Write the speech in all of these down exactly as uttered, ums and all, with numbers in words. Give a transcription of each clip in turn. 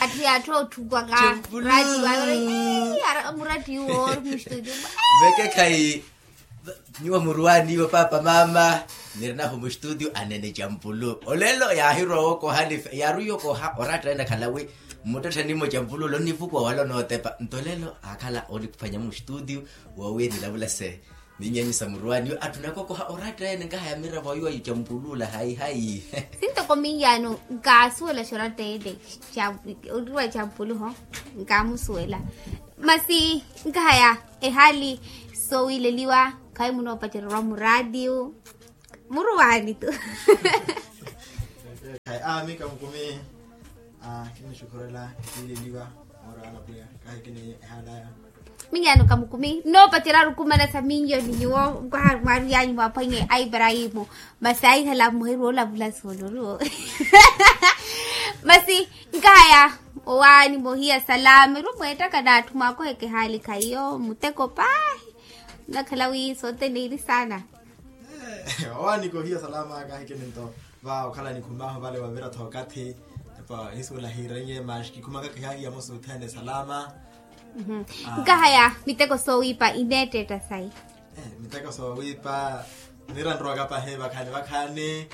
Atthu yaattha otthukwaka. Champulu. Muratti wawe. Muratti yuwo ori mustudio. Vekekhayi. Nyuwo muruwani iwo papa mama, nirinahu mustudio anene champulu. Olelo yaahirowa okoha nife yaaruya okoha oratta ene akhala wi mmuttettheni mo champulu olo onnivukuwa wala onootepa nto olelo aakhala oniphwanya mustudio. Woowiya nilavula se. Minyanyu sa muruwani yo attunaka okoha oratta ene nkahaya miravo ayo ayo champulu ola hayi hayi. Sintoko minyaano nkaasuwela xoratta ene. Oriwa champulu ho. Nkaamusuwela. Masi nkahaya ehaali soowileliwa. Khayi munoopacererwa muraatiyo. Muruwani tu. Khayi a mika mukumi. Kinixukhurela kiileliwa. Moora alapwiya kahi kini ehalaya. Minyaano kamukumi nnoopacerya rukumana sa minyo ni nyuwo. Mwaruyanyu mwaphwanye a iparahimu. Masi ahihala muheriwa olavula sooloriwo. Masi nkahaya owaani mohiya salama eri omweettaka n'atthu mwaakoheke ehaali khayiyo muteko paahi. Nnakhala wi sothene iri saana. Owaani kohiya salama kaahikini nto va okhala nikhumahu vale wavira-tho okathi. Epa hisuwela hiirenye masi kikhumaka kihaahiya musuthene salama. Nkahaya miteko soowiipa ineetteetta sayi. Miteko soowiipa nira nrowaka pahi vakhaani vakhaani.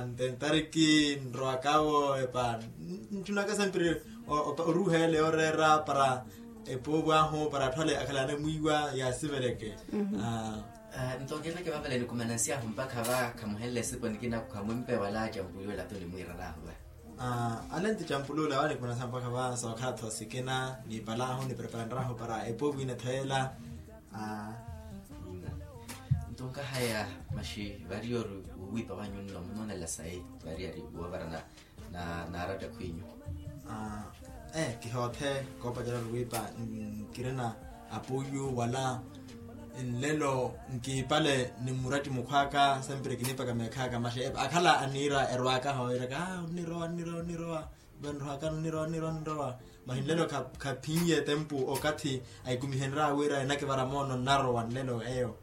Ntentariki nrowakawo epa ntthunaka sempiri oruuheele oreera para epuupu ahu para atthu ale akhala anamwiiwa yaasiveleke. Nto nkeereke vavale nikumanansiyahu mpakha va khamuhenle esipo nikina khamwimpe wala champulu ola tu nimwiirarahu va. Ale nti champulu ola wa nikumanansiyahu mpakha va sookhala-tho sikina niipalaahu nipreparanrahu para epuupu ina-tho ela. Nto nkahaya masi vari ori wuwiipa wanyu nno munoonela sayi vari ari woovara na naaratta khwinyu. Kihoothe koopacerya ori wiipa nkirina apuuyu wala nlelo nkiipale ni muratti mukhw'aka sempiri kiniipaka meekhaaka masi akhala aniira erwaaka hooyiraka aa onnirowa onnirowa onnirowa. Vanrohaka nnirowa nnirowa nnirowa. Masi nlelo khaphinye tempu okathi ahikumihenrya wira enakivara moono nnarowa nlelo eyo.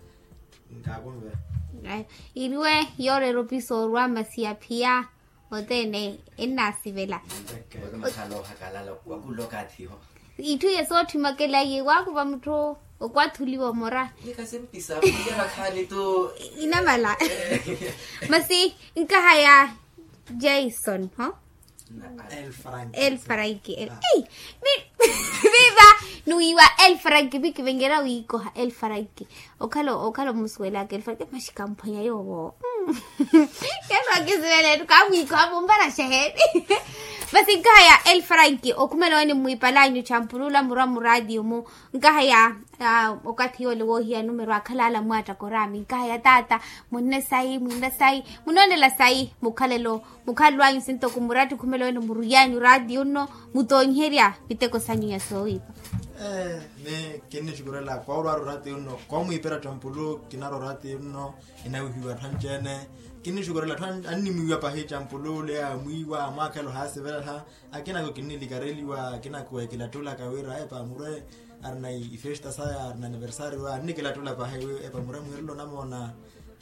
Nkaakunve. Iriwe yooreera opiso orwa masi aphiya othene ennaasivela. Itthu iye sootthi makela iye waakuva mutthu okwathuliwa omora. Inamala. Masi nkahaya jason ho. El franki el franki el ei. Viva. Nuwiiwa el franki vikivenyera wiikoha el franki. Okhala omusuwelaka el franki masi kamphwanya yoowo. Keso akisuwela ettu kamwiikoha mumparaxa heeni. Masi nkahaya el franki okhumela wene mmwiipalanyu champulula murwa muraatiyo mu. Nkahaya okathi yoole woohiya numero akhala ala mwaattaka oraami nkahaya taata. Munne sayi munne sayi munoonela sayi mukhalelo. Mukhalelo anyu sinto khumuratti khumela wene muruyanyu oraatiyo nno mutoonyiherya miteko sanyu ya soowiipa. Ee ni kinnixukurela koorwaara oraatiyo nno koomwiipera campulu kinarwa oraatiyo nno. Inawihiwa atthu anci-ene kinnixukurela atthu annimwiiwa pahi campulu ole amwiiwa amwaakhelo haasivelaha. Akinako kinnilikareliwa akinako ekilattulaka wira epa murwe arina ifesta saya arina aniversario annikilattula pahi wi epa murwe mwiirelo namoona.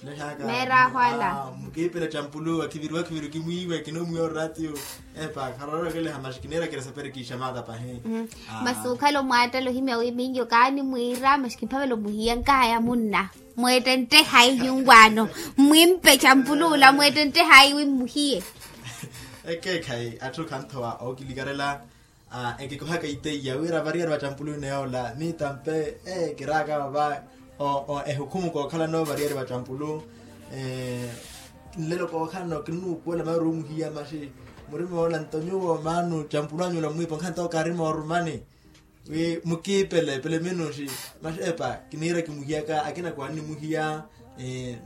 Lehaaka meeraaho ala mukiipele campulu akiviriwa akiviri kimwiiwe kinomwiiwa oraatiyo. Epa kharorokeleha masi kiniirakela sapere kiixamata pahi. Masi okhala omwaattala ohimya wi minyo kaanimwiira masi kimphavela omuhiya nkahaya munna. Mweettentte hayi nyuwaano. Mmwimpe campuluula mweettentte hayi wi mmuhiye. Ekeekhayi atthu khanthowa ookilikarela. Ekikohaka iteiya wira variyari va campulu ina yoola mitampe. Kiraaka vava ehukhumu kookhalano variyari va campulu. Nlelo kookhalano kinnuupuwela maari omuhiya masi murima woola nto nyuwo maanu campulu anyu ola mwiipa nkhanto kaari moorumani. Wi mukiipele pele minuxi. Masi epa kiniira kimuhiyaka akina kwannimuhiya.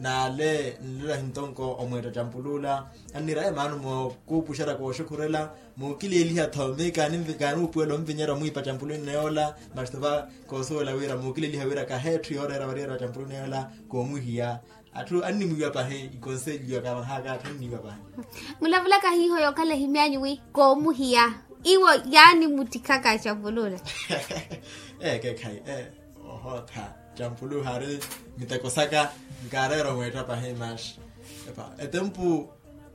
Naale nlelo ahintonko omweetta campuluula anniira emaano mookuupuxerya kooxukhurela. Muukileliha-tho mi kaanuupuwela omvinyerya omwiipa campuluuni neyoola. Masi tova koosuwela wira muukileliha wira kaheetthu yooreera variyari va campuluuni neyoola. Koomuhiya. Atthu annimwiiwa pahi ikonselio kaavahaka atthu annimwiiwa pahi. Mulavulaka hiiho yookhala ehimyanyu wi koomuhiya iwo yaanimuttikhaka campuluula. Ee keekhayi ee ohootha campuluula haari miteko saka. Nkaareera omweetta pahi masi epa etempu.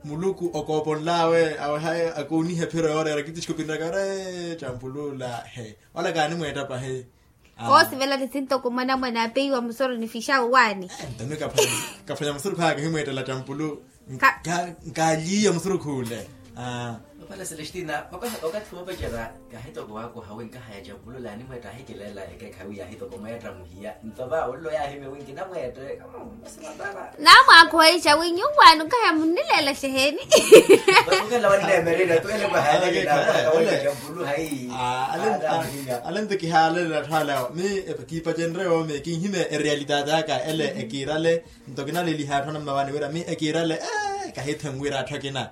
Muluku okooponl'awe awe hayi akooniha ephiro yooreera kitisikopinraka ore campuluula he. Ola kaanimweetta pahi. Koosivela ni sintoko mwanamwane apeiwa musoro ni fixa owaani. Ntami kaphwanya musoro khaaka himweettela campulu. Nkaaliiya musoro khuule. Opala celestina, okathi woopacerya kahitoko wakoha wi nkahaya campulu laanimweetta ahikileela ekeekhayi wi yahitoko mweetta muhiya nto va ollo yaahimya wi nkinamweette. Naamwaakhowa ica wi nyuwaani nkahaya munnileela xeheeni. Vatukela wanneemererya tu ele kwahalelela. Alento kihaalele atthu ale awo mi kiipacenrye woomi kinhimya erealitaati aka ele ekiirale. Nto kinaleliha atthu anammawaani wira mi ekiirale. Kahithenwira atthu akina.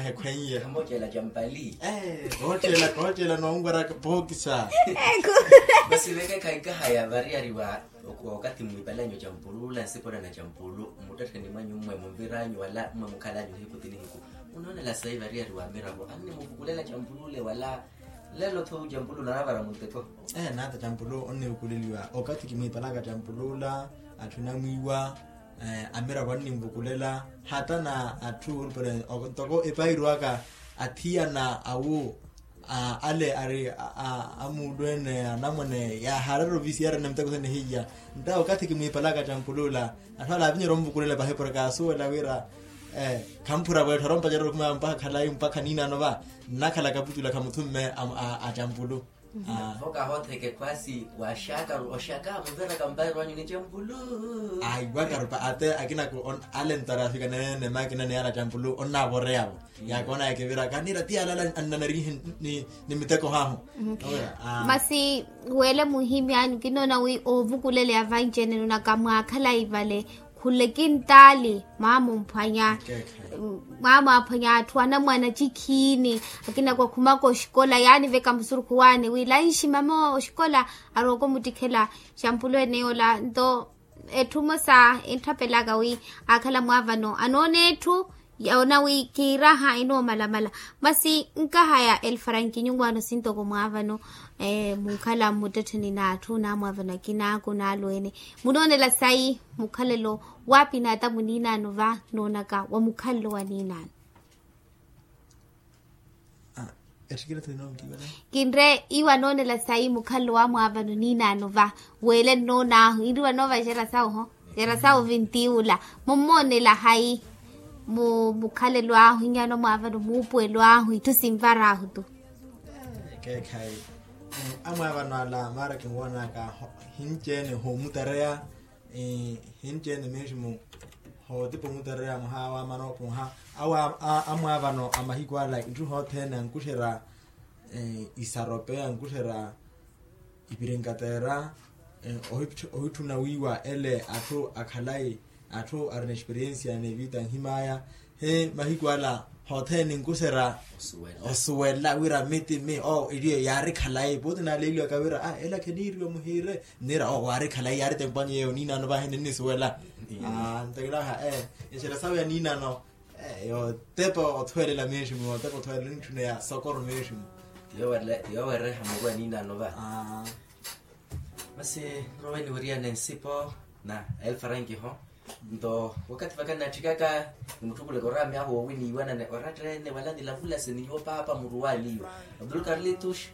Ekhweiye. Kooceela noonweraka pookisa. Masi veke khaikahaya variyari wa okathi mwiipalanyu campulu la nsipora na campulu mmuttettheni mwanyu mmwe munviranyu wala mmwe mukhalanyu nihiku ti nihiku. Munoonela sayi variyari wa miravo annimuvukulela campulu le wala lelo tho campulu nanavara muntekho. Naata campulu onnivukuleliwa okathi kimwiipalaka campulu la atthu namwiiwa amiravo anninvukulela. Hata na atthu olupale ntoko epahiru aka athiyana awu ale ari amuulu ene anamwane yaaharera ovisiya arina miteko sene hiya. Nta okathi kimwiipalaka campuluula atthu ale avinyerya onvukulela pahi porke kaasuwela wira khamphura wetthu arompacerya okhuma mpakha khalayi mpakha niinaano va nnakhala kaputula khamuthumme a campulu. Vo kahootheke khwaasi waxakaru oxaka muveraka mpairo anyu ni campulu. Aiwakarupa ate akinako ale ntarafika neene makina ni ala campulu onnavoreya vo. Yakoona yakivira kanira ti ala ala annanarihe ni miteko hahu. Masi wele muhimyanyu kinoona wi ovukuleleya vanci ene nunaka mwakhalayi vale khule kintaali mwaamumphwanya. Mwaamwaphwanya atthu anamwana cikhiini akina kwakhumaka oxikola yaani veka musurukhu waani wi lanxi mama oxikola arooko muttikhela. Xampulu ene yoola nto etthu mosa entthapelaka wi akhala mwaavano anoona etthu yoona wi kiiraha enoomalamala. Masi nkahaya elfaranki nyuwaano sintoko mwaavano munkhala mmuttettheni n'atthu n'amwaavano akina akunaalweene. Munoonela sayi mukhalelo waapi n'atamu niinaano va noonaka wa mukhalelo wa niinaano. Kinre iwo anoonela sayi mukhalelo wa mwaavano niinaano va weele nnoon'ahu inri wanoova exera sawu ho. Exera sawu vintiula mummoonela hayi mu mukhalelo ahu inyaano mwaavano muupuwelo ahu itthu sinvar'ahu tu. Ekeekhayi amwaavano ala maara kinwoonaka hinci-ene hoomutareya. Hinci-ene mesmo hootipa omutareya mwaha awo amana opuha awo amwaavano a mahiku ala itthu hothene ankuxerya isarope ankuxerya ipirinkateera. Ohitthuna wiiwa ele atthu akhalayi atthu arina experiensia n'evita anhim'aya. He mahiku ala hothene ninkuxerya osuwela wira miti mi o eliyo yaari khalayi pooti naaleeliwaka wira a ela kheniiriwa muhiire. Nniira o waari khalayi yaari tempanyu yeeyo niinaano vahi ninnisuwela. Ntakilaaha e exera sawe ya niinaano yootepa othwelela meeximu yootepa othwelela nitthuna ya sokoro meeximu. Ti yoowereha muru a niinaano va. Masi nrowe niwiriyane nsipo na elfaranki ho. Nto wakathi vaka nnatthikaka nimutthukule koraami ahu woowiniiwanane oratta ene wala nilavulase ni nyuwo paapa muruwaaniiwa. Abdul karlitush.